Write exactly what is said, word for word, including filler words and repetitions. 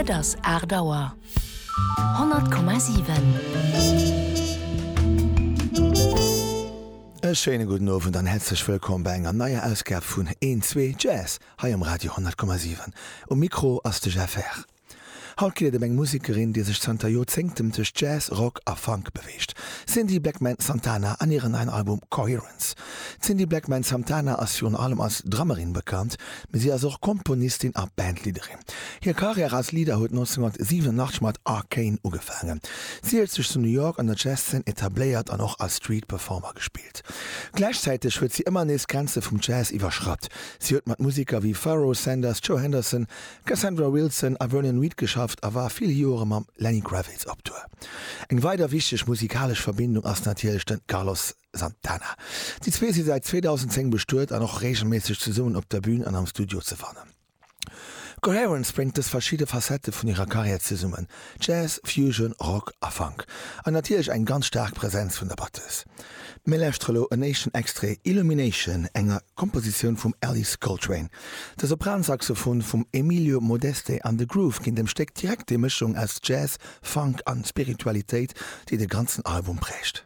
Et ass aacht Auer. Honnert Komma siwen. E schéine gudden Owend an häerzlech wëllkomm bei enger neier Ausgab vun Een Zwee Jazz hei um Radio honnert Komma siwen. Um Mikro ass de Jeff Herr. Haut geet et ëm eng Musekerin, déi sech zanter Joerzéngten tëscht Jazz, Rock a Funk beweegt, Cindy Blackman Santana an hiren neien Album Coherence. D'Cindy Blackman Santana ass virun allem als Drummerin bekannt, mee si ass och Komponistin a Bandleaderin. Hir Karriär als Leader huet nonzénhunnertsiwenundachtzeg mat Arcane ugefaangen. Si huet sech zu New York an der Jazzszen etabléiert an och als Street Performer gespillt. Gläichzäiteg huet si ëmmer nees d'Grenze vum Jazz iwwerschratt. Si huet mat Museker wéi Pharoah Sanders, Joe Henderson, Cassandra Wilson a Vernon Reid geschafft a war vill Joere mam Lenny Kravitz op Tour. Eng weider wichteg musikalesch Verbindung ass natierlech de Carlos Santana. Déi zwee si säit zweedausendzéng bestuet an och reegelméisseg zesummen op der Bün an am Studio ze fannen. Coherence bréngt dës verschidde Facettë vun hirer Karriär zesummen, Jazz, Fusion, Rock a Funk. An natierlech eng ganz staark Presenz vun der Batteuse. Mir lauschtere lo en éischten Extrait, Illumination, enger Kompositioun vum Alice Coltrane. De Sopransaxophon vum Emilio Modeste an de Groove ginn dem Stéck direkt déi Mëschung aus Jazz, Funk an Spiritualitéit, déi de ganzen Album prägt.